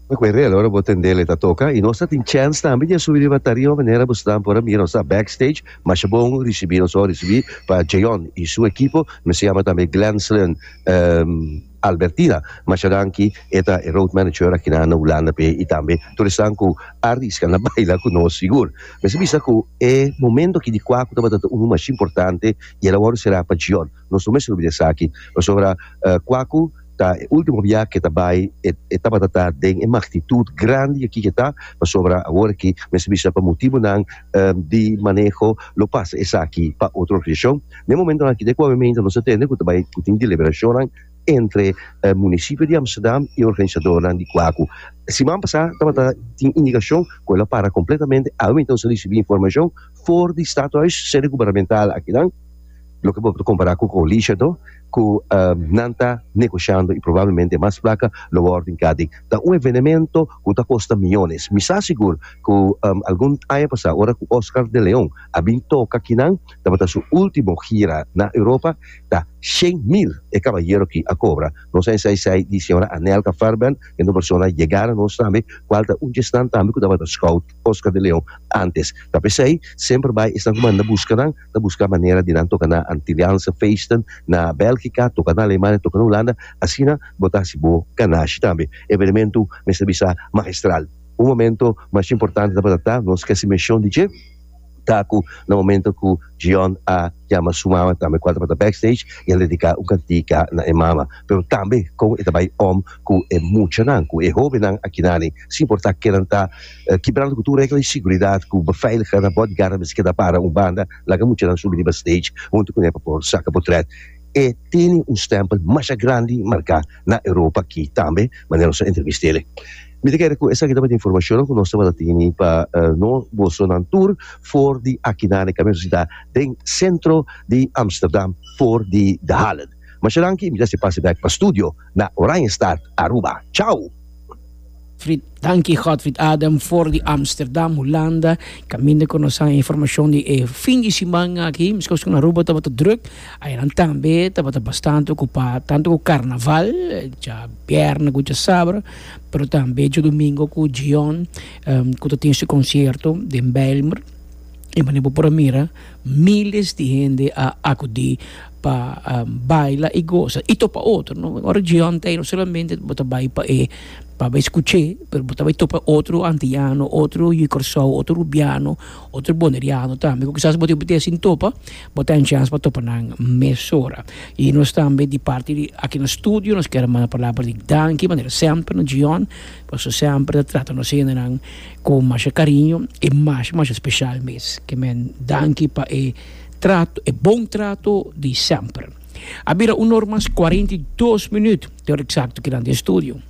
Cu e rel ora bo tendel e ta toca y nos ta tin chance tambe di a subi riba tarima manera bo stan por a mira nos ta backstage masha bon ricibi nos a ricibi pa Jeon y su ekipo mi se yama tambe Glenslyn Albertina masha danki e ta e road manager aki na Hulanda p'e y tambe tur esnan cu a risca na baila cu nos sigur mester bisa cu e momento aki di cua cu tabata ta unu masha importante y el a worde cera pa Jeon nos no mester olbida esaki pasobra cua cu Ta e ultimo bia ke ta bai e e tabata ta den e magnitut grandi aki ke ta, pasobra awor aki mester bisa pa motibunan di maneho lo pasa esaki pa otro organisashon. Den momentonan aki te ku awe nos a tende ku ta bai ku tin deliberashonnan entre munisipio di Amsterdam i organisadornan di Kwaku. Siman pasá tabata tin indikashon ku el a para kompletamente, awe nos a risibí informashon for di Stadhuis, sede gubernamental akinan, Loke bo ta kompará ku Coalition to ku nan ta negoshando i probablemente mas plaka lo wòrdu hinká den. Ta un evenemento ku ta kosta miyones. Mi sa sigur ku algun aña pasá ora ku Oscar de Leon a bin toka kinan tabata su último gira na Europa ta 100,000 e kabayero ki a kobra. Nos a ensai sai di señora Anelka Fairbairn kende un persona yegá na nos tambe kual ta un djesnan tambe ku tabata scout Oscar de Leon antes. Ta p'esei semper bai esnan ku manda buska nan. ta buska manera di nan toka na Antilliaanse feesten na Bèlgika, toka na Alemania, toka na Hulanda, asina bo ta hasi bo ganashi tambe. Evenementu mester bisa magistral. Un momento masha importante tabata ta, nos ke hasi menshon di dje, ta ku na momento ku Gion a yama su mama tambe kual tabata backstage i a dediká un kantika na e mama, pero tambe kon e ta bai om ku e muchanan, ku e hóbennan akinani, sin importá ke nan ta. Kibrando ku tur regla di siguridat ku beveiligers na bodyguardnan mester keda para un banda, laga muchanan subi riba stage huntu kuné pa por saka potret. E tene un stempel masha grandi marká na Europa aki tambe, manera nos a entrevist'el. Mi ta kere ku esaki tabata informashonnan ku nos tabata tini pa no bosonan tur for di akinan e kaminda nos ta den sentro di Amsterdam for di De Hallen. Masha danki i mi ta hasi pase bek pa studio na Oranjestad, Aruba. Chao! Fried, Danki Godfried Adam for di Amsterdam, Hulanda. Kaminda ku nos haña informashon di e fin di siman aki. Meskos ku na Aruba tabata druk, ayanan tambe tabata bastante okupá, tantu ku karnaval, djabièrnè ku djasabra, pero tambe djadumingu ku Gion ku ta tin su konsierto den Bijlmer. E manera bo por a mira miles di hende a akudí pa baila i gosa i topa otro, no? Ora Gion ta ei no solamente bo ta bai pa e pa bai skuch'é, pero bo ta bai topa otro antiano, otro yu Kòrsou, otro rubiano, otro boneriano tambe ku kisas bo tin oportunidat sin topa, bo ta haña chèns pa topa nan mesora. I nos tambe di parti di aki na studio nos kier a manda palabra di danki manera semper na Gion, pasobra semper ta trata nos hendenan ku masha kariño i masha masha speshal mes. Ke men danki pa e trato, e bon trato di semper. A bira un or mas 42 minuut, te ora eksakto kinan den studio.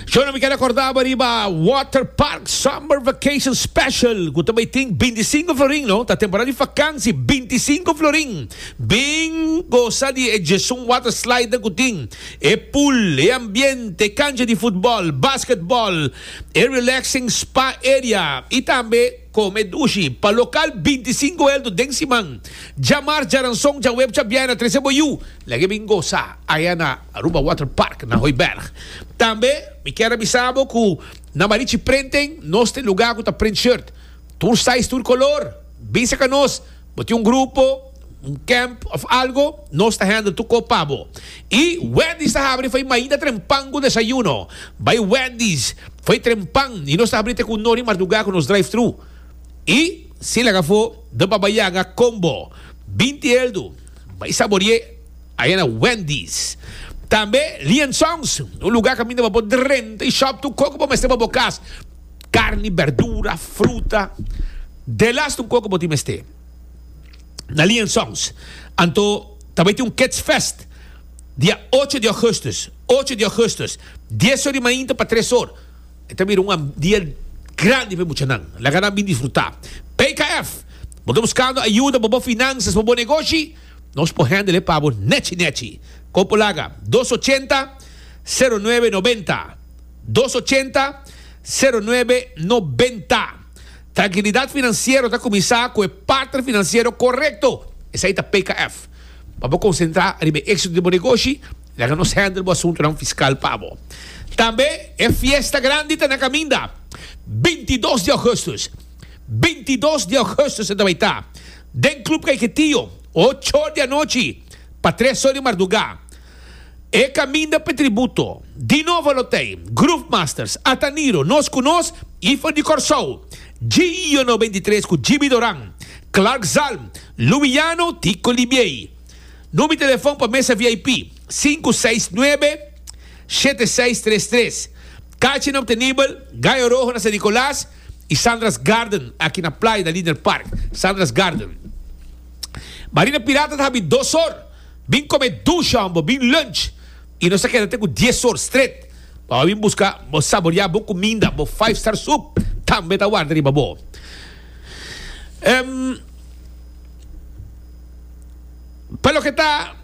Shona mi ker akorda bo riba Water Park Summer Vacation Special ku ta bai tin 25 florin no, ta temporada di fakansi 25 florin. Bin gosa di e djesun water slider ku tin, e pool, e ambiente, e kancha di futbòl, basketbòl, e relaxing spa area i tambe Come dushi pa local 25 eldo den siman. Djamars, djaranson, djaweb, djabièrnè trese bo yu. Laga e bin gosa aya na Aruba Water Park na Hooiberg. Tambe mi kier a bisa bo cu na Marichi Printing nos tin lugar cu ta print shirt. Tur size, tur color. Bin saca nos. Bo tin un grupo, un camp of algo, nos ta handle tur cos pa bo. Y Wendy's ta habri fo'i mainta trempan cu desayuno. Bay Wendy's fo'i trempan y nos ta habri te cu nori marduga cu nos drive thru. Y si laga afo de Baba Yaga combo 20 eldo. Bay saborie aya na Wendy's. Tambe Lee and Sons, un lugar caminda pa bo drenta y shop tur cos cu bo mester pa bo cas. Carni, berdura, fruta. Delaste un koko bo tin mester na Lee and Sons. Anto ta bai tin un Kids Fest dia ocho di augustus, ocho di augustus, dies or di mainta pa tres or. E ta bira un dia grandi pa e muchanan. Laga nan bin disfruta. PKF, bo ta buskando ayuda pa bo finansas, pa bo negoshi? Nos por handle e pa bo nechi nechi. Kon por laga? Dos ochenta, sero nuebe nobenta. Dos ochenta, sero nuebe nobenta. Trankilidat finansiero ta kuminsá ku e partner finansiero korekto, esei ta PKF. Pa bo konsentrá riba e éksito di bo negoshi, Laga nos handle bo asuntonan fiscal pa bo. Tambe e fiesta grandi ta na caminda, 22 di augustus. 22 di augustus e ta bay ta den Club Caiquetio, ocho or di anochi pa tres or di marduga. E caminda p'e tributo, Dino Volotey, Groove Masters, Ataniro, Nos Cu Nos y for di Corsou, Gio 93 cu Gibi Doran, Clark Zalm, Luiano Tico Libiey. Number di telefon pa mesa VIP, 569 7633. Kaartjenan obtenibel, Gallo Rojo na San Nicolas y Sandra's Garden aki na Playa na Linear Park. Sandra's Garden. Marina Pirata ta habi dos or. Bin come dushi hombo, bin lunch y nos ta keda te cu dies or stret. Pa bo bin busca bo saborea bo cuminda, bo five star soup tambe ta warda riba bo. Em. Pa loke ta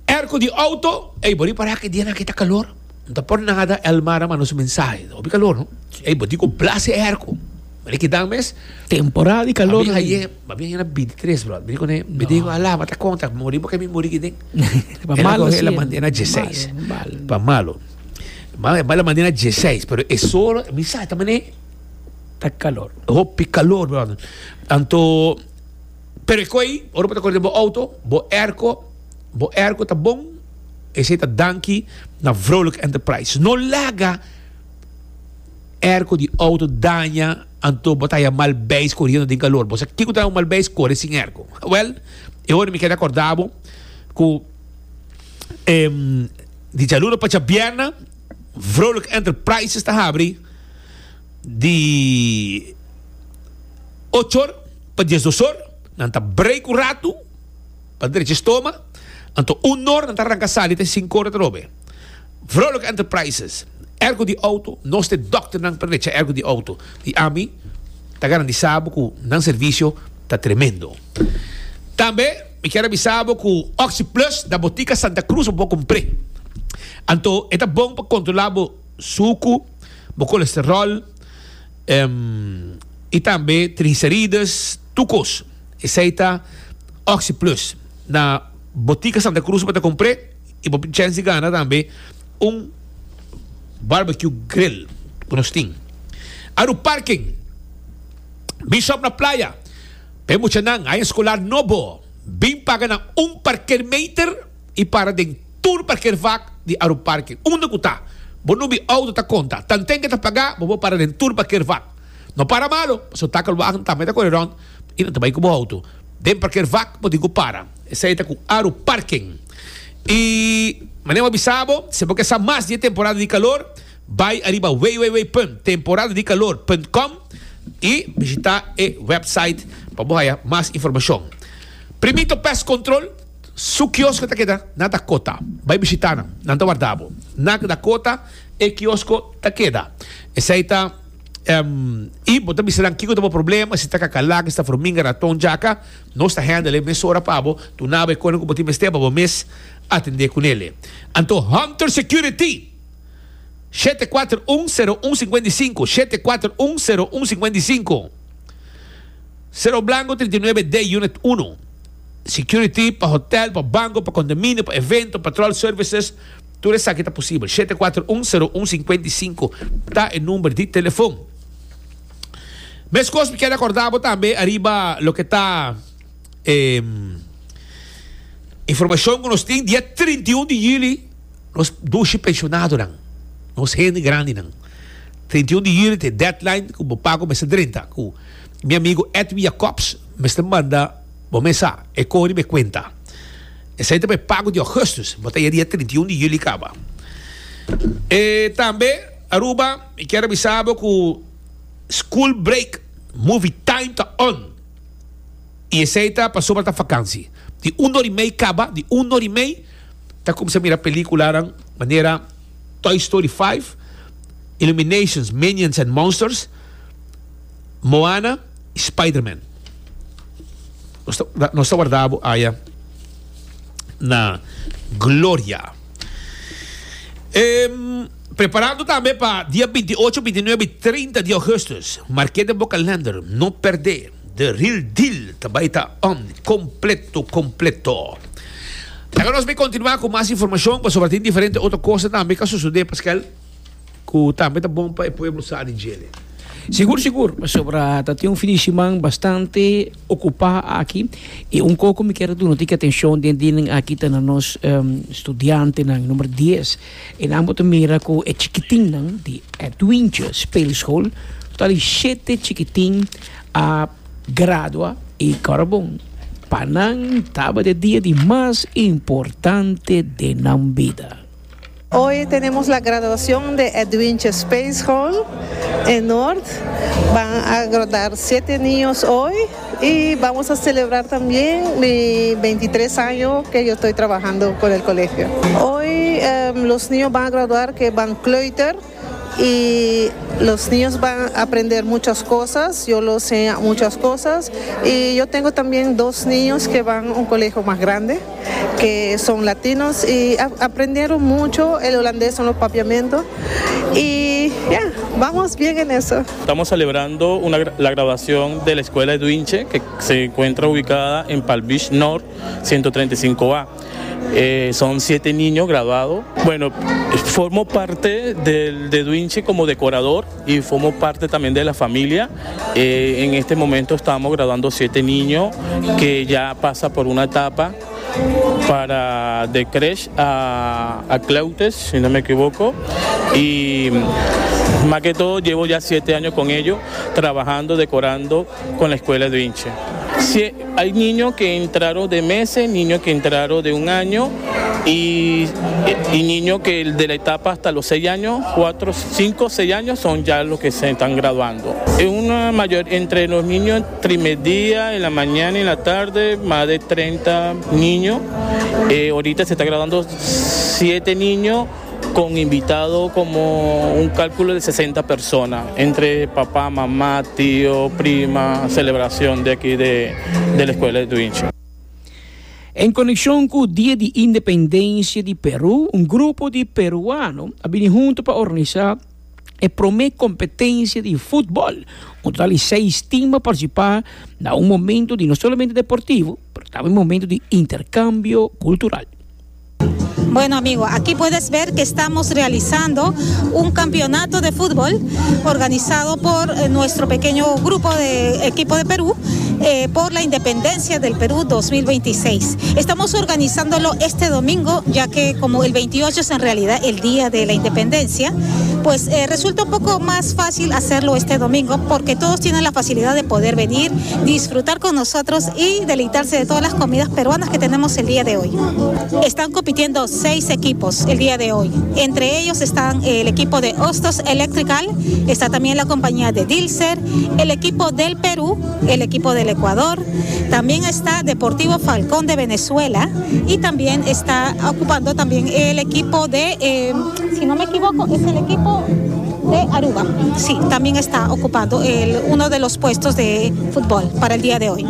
airco di auto, ey bo ripara ke dianan aki ta calor, no ta por nada Elmar a manda su mensahe, hopi calor no, ey bo tin cu blase e airco, mane kidan mes. Temporada di calor. Mabien haye, mabien haye na 23 brother, mi di cune, mi di ala ma ta conta, muri bo ke mi muri kiden. Pa malo si, el a manda na 16, pa malo, ma el a manda na 16, pero e solo, mi sa ta mane. Ta calor. Hopi calor brother, anto. Pero e koe, ora bo ta kore den bo auto, bo airco, bo airco ta bon, esei ta danki na Vrolijk Enterprise. No laga airco di auto daña, anto bo ta haya mal beis koriendo den kalor. Bo sa kiko ta un mal beis? Kore sin airco. Wel, e ora mi kere akorda bo ku di djaluna pa djabierna, Vrolijk Enterprises ta habri di ocho or pa diesdos or, nan ta break un ratu pa drecha stoma, anto un or nan ta ranka sali te sinku or atrobe. Vrolijk Enterprises, ergo di auto, nos ta e dokternan pa drecha ergo di auto i ami ta garantisa bo ku nan servisio ta tremendo. Tambe mi kier a bisa bo ku Oxi Plus na Botica Santa Cruz bo por kumpr'é. Anto e ta bon pa kontrola bo suku, bo kolesterol, i tambe triglicerides, tur kos. Esei ta Oxi Plus. Na Botica Santa Cruz bo ta compr'é i bo tin chèns di gana tambe un barbecue grill ku nos tin. Aru Parking, Bishop na Playa, pa e muchanan aña eskolar nobo bin paga na un parkeermeter i para den Tur parkeervak di Aruparke, unda ku ta, bo nubi outo ta konta. Tanten ke ta pagá, bo por para den tur parkeervak. No para malo, pasobra takelwagen tambe ta kore rònt i nan ta bai ku bo outo. Den parkeervak bo tin ku para. Esei ta ku Aruparken. I manera bo a bisa bo, si bo ke sa mas di e temporada di kalor, bai ariba www punt temporadadikalor punt com i bishitá e wèpsait pa bo haya mas informashon. Primito Pest Control. Su kiosko ta keda na Dakota. Bai bishita nan. Nan ta warda bo. Na Dakota e kiosko ta keda. Esei ta i bo ta bisa nan kiko ta bo problema, si ta kakalak, si ta forminga, raton, djaka. Nos ta handle e mesora pa bo. Duna bo e kosnan ku bo tin mester pa bo mes atende kunele. Anto Hunter Security, 741 01 55, 741 01 55. Cerro Blanco 39 D Unit 1. Security pa hotel, pa banco, pa condominio, pa evento, patrol services, tur esaki ta posibel. 741 01 55 ta e number di telefon. Mescos mi kier acorda bo tambe ariba loke ta e informacion cu nos tin dia 31 di juli nos dushi pensionadonan, nos hende grandinan. 31 di juli ta e deadline cu bo pago mester drenta cu mi amigo Edwin Jacobs mester manda. Bo mes sa, e koho riba e kuenta. Esei ta pa e pago di augustus, bo ta ya dia 31 di juli kaba. E tambe, Aruba, mi kier a bisa bo ku school break movie time ta on. I esei ta pasobra ta vakansi. Di un or i mei kaba, di un or i mei ta kumsa mira pelikulanan manera Toy Story 5, Illuminations, Minions and Monsters, Moana i Spiderman. Nos ta, nos ta warda bo aya na Gloria. Em, preparando tambe pa dia 28, 29 i 30 di augustus. Marké den bo kalender, no perdé. The real deal ta bai ta on completo, completo. Laga nos bay continua cu mas informacion pasobra tin diferente otro cosa tambe ca sucede Pascal cu tambe ta bon pa e pueblo sa di djele. Sigur sigur pasobra ta tin un fin di siman bastante ocupa aki y un co cu mi kier a duna tiki atencion den dianan aki ta na nos studiantenan number dies y nan bo ta mira cu e chikitinnan di Edwintje Speelschool total di shete chikitin a Gradua y Carbon pa nan tabata e dia di mas importante den nan bida. Hoy tenemos la graduación de Edwinche Space Hall en Noord. Van a graduar siete niños hoy y vamos a celebrar también mi 23 años que yo estoy trabajando con el colegio. Hoy los niños van a graduar que van kleuter. Y los niños van a aprender muchas cosas, yo los enseño muchas cosas y yo tengo también dos niños que van a un colegio más grande, que son latinos y aprendieron mucho el holandés son los papiamentos y ya, vamos bien en eso. Estamos celebrando una, la graduación de la Escuela de Duinche, que se encuentra ubicada en Palm Beach North 135A. Eh, son siete niños graduados. Bueno, formo parte del, de Duinche como decorador y formo parte también de la familia. Eh, en este momento estamos graduando siete niños que ya pasa por una etapa para de creche a, a Cleutes, si no me equivoco. Y más que todo llevo ya siete años con ellos, trabajando, decorando con la escuela de Vinci. Si hay niños que entraron de meses, niños que entraron de un año y, y niños que de la etapa hasta los seis años, cuatro, cinco, seis años son ya los que se están graduando. Es una mayor, entre los niños trimedía, en la mañana y en la tarde, más de 30 niños. Eh, ahorita se está graduando siete niños con invitado como un cálculo de 60 personas, entre papá, mamá, tío, prima, celebración de aquí de, de la escuela de Duinche. En konekshon ku Dia di Independensia di Peru, un grupo di peruano a bini huntu pa organisá e promé kompetensia di futbòl. Un total di seis tim a partisipá na un momento di no solamente deportivo, pero tambe un momento di interkambio kultural. Bueno amigo, aquí puedes ver que estamos realizando un campeonato de fútbol organizado por eh, nuestro pequeño grupo de equipo de Perú eh, por la independencia del Perú 2026. Estamos organizándolo este domingo, ya que como el 28 es en realidad el día de la independencia, pues eh, resulta un poco más fácil hacerlo este domingo porque todos tienen la facilidad de poder venir, disfrutar con nosotros y deleitarse de todas las comidas peruanas que tenemos el día de hoy. Están compitiendo seis equipos el día de hoy. Entre ellos están el equipo de Hostos Electrical, está también la compañía de Dilser, el equipo del Perú, el equipo del Ecuador, también está Deportivo Falcón de Venezuela y también está ocupando también el equipo de, eh, si no me equivoco, es el equipo de Aruba. Sí, también está ocupando el, uno de los puestos de fútbol para el día de hoy.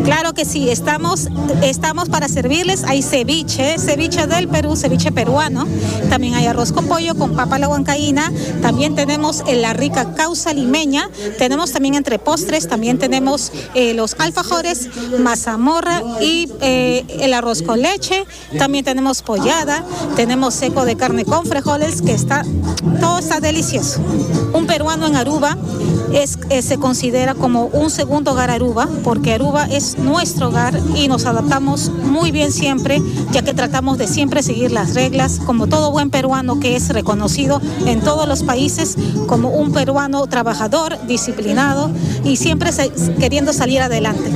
Claro que sí, estamos, estamos para servirles. Hay ceviche, ceviche del Perú, ceviche peruano. También hay arroz con pollo, con papa la huancaína. También tenemos la rica causa limeña. Tenemos también entre postres, también tenemos eh, los alfajores, mazamorra y eh, el arroz con leche. También tenemos pollada, tenemos seco de carne con frijoles, que está, todo está delicioso. Un peruano en Aruba es, eh, se considera como un segundo hogar Aruba, porque Aruba es nuestro hogar y nos adaptamos muy bien siempre, ya que tratamos de siempre seguir las reglas, como todo buen peruano que es reconocido en todos los países como un peruano trabajador, disciplinado y siempre queriendo salir adelante.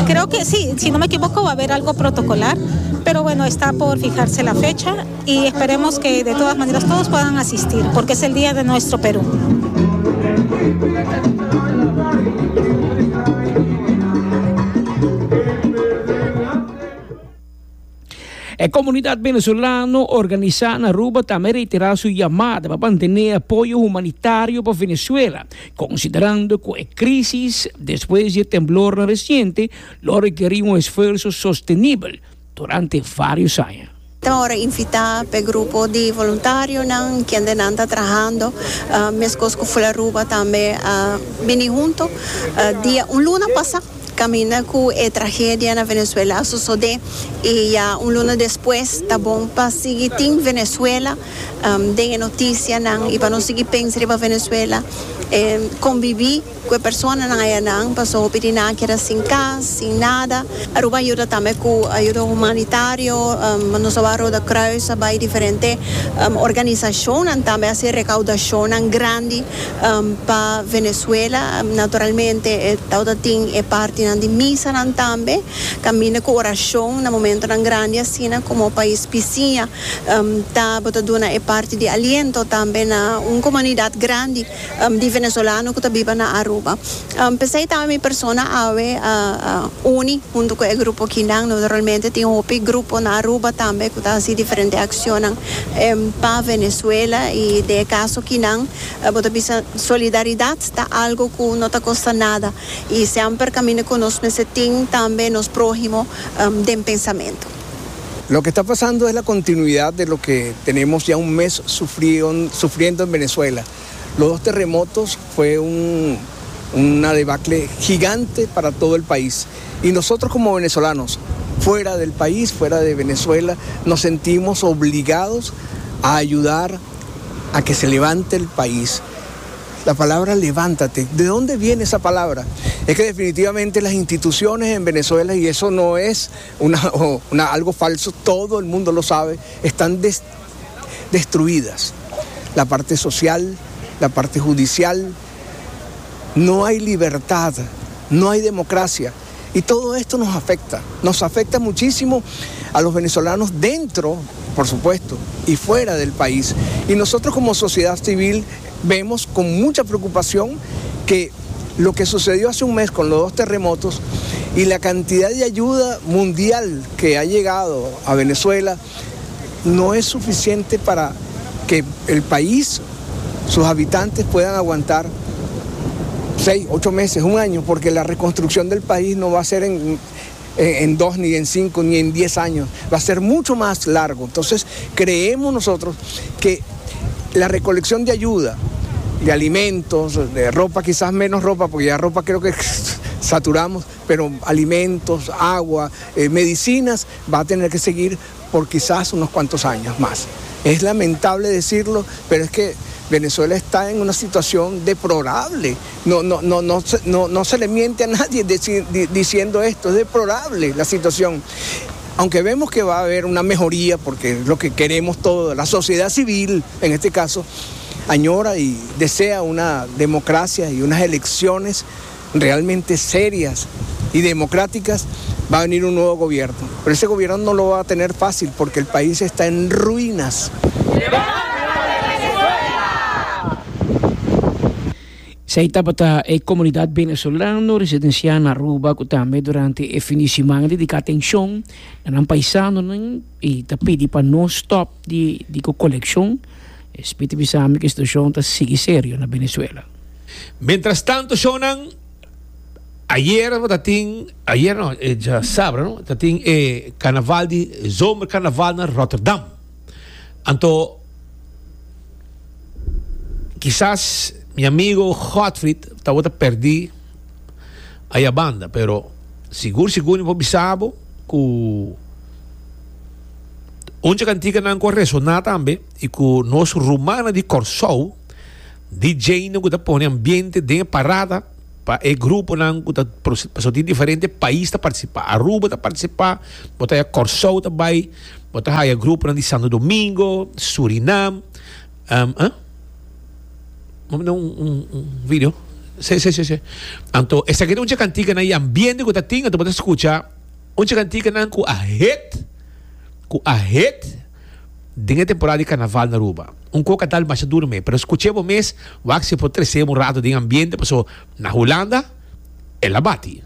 Creo que sí, si no me equivoco va a haber algo protocolar, pero bueno, está por fijarse la fecha y esperemos que de todas maneras todos puedan asistir, porque es el día de nuestro Perú. E komunidat venezolano organisá na Aruba tambe reiterá su yamada pa mantené apoyo humanitario pa Venezuela, konsiderando ku e krísis despues di e temblornan resiente lo rekerí un esfuerso sostenibel durante vários aña. Ta ora invitá p'e grupo di voluntarionan kendenan ta trahando meskos ku Ful Aruba tambe a bini hunto dia un luna pasá. Caminda cu e tragedia na Venezuela a sosode y ya un luna despues ta bon pa sigui tin Venezuela den e noticianan y pa no sigui pensa riba Venezuela. Convivi cu e personanan ayanan paso hopi di nan a keda sin cas, sin nada. Aruba a yuda tambe cu ayuda humanitario, nos a wak Rode Kruis a bay diferente organisacionnan tambe a haci recaudacionnan grandi pa Venezuela. Naturalmente e tabata tin e partinan di misanan tambe, caminda cu oracion na momentonan grandi asina como pais bisiña tabata duna e parti di aliento tambe na un comunidad grandi. Di venezolano ku ta biba na Aruba. P'esei tambe mi persona awe a uni huntu ku e grupo kinan. Naturalmente tin hopi grupo na Aruba tambe ku ta hasi diferente akshonnan pa Venezuela i den e kaso kinan bo ta bisa solidaridat ta algu ku no ta kosta nada i semper kaminda ku nos mester tin tambe nos próhimo den pensamentu. Lo que está pasando es la continuidad de lo que tenemos ya un mes sufriendo en Venezuela. Los dos terremotos fue un, una debacle gigante para todo el país. Y nosotros como venezolanos, fuera del país, fuera de Venezuela, nos sentimos obligados a ayudar a que se levante el país. La palabra levántate, ¿de dónde viene esa palabra? Es que definitivamente las instituciones en Venezuela, y eso no es una, una, algo falso, todo el mundo lo sabe, están destruidas. La parte social, la parte judicial, no hay libertad, no hay democracia. Y todo esto nos afecta, nos afecta muchísimo a los venezolanos dentro, por supuesto, y fuera del país. Y nosotros como sociedad civil vemos con mucha preocupación que lo que sucedió hace un mes con los dos terremotos y la cantidad de ayuda mundial que ha llegado a Venezuela no es suficiente para que el país, sus habitantes puedan aguantar seis, ocho meses, un año, porque la reconstrucción del país no va a ser en, en dos, ni en cinco, ni en diez años, va a ser mucho más largo. Entonces, creemos nosotros que la recolección de ayuda, de alimentos, de ropa, quizás menos ropa, porque ya ropa creo que saturamos, pero alimentos, agua, eh, medicinas, va a tener que seguir por quizás unos cuantos años más. Es lamentable decirlo, pero es que Venezuela está en una situación deplorable. No, no, no, no, no, no se le miente a nadie diciendo esto, es deplorable la situación. Aunque vemos que va a haber una mejoría, porque es lo que queremos todos, la sociedad civil en este caso, añora y desea una democracia y unas elecciones realmente serias y democráticas, va a venir un nuevo gobierno. Pero ese gobierno no lo va a tener fácil porque el país está en ruinas. Esei tabata e komunidat venezolano residensiá na Aruba ku tambe durante e fin di siman a dediká atenshon na nan paisanonan i ta pidi pa no stòp di di ku kolekshon. Espi ta bisa mi ku e situashon ta sigui serio na Venezuela. Mientras tanto shownan ayer ta tin ayer no e djasabra no ta tin e carnaval di zomercarnaval na Rotterdam anto kisas mi amigo Godfried tabata perdi aya banda pero sigur sigur mi por bisa bo cu un dje canticanan cu a resona tambe y cu nos rumannan di Corsou DJ-nan ku ta pone ambiente den e parada pa e gruponan ku ta pasobra tin diferente pais ta partisipá. Aruba ta partisipá, bo ta haya Kòrsou ta bai, bo ta haya gruponan di Santo Domingo, Surinam. Um, Bo manda un, un, un video? Sí, sí, sí, sí. Anto, esaki ta un dje kantikanan i ambiente ku ta tin, anto bo ta skucha un dje kantikanan ku a hit, ku a hit. Den e temporada di carnaval na Aruba, un coca tal masha duro me, pero scuche bo mes, wak si por trece un rato den ambiente, paso na Hulanda el a bati.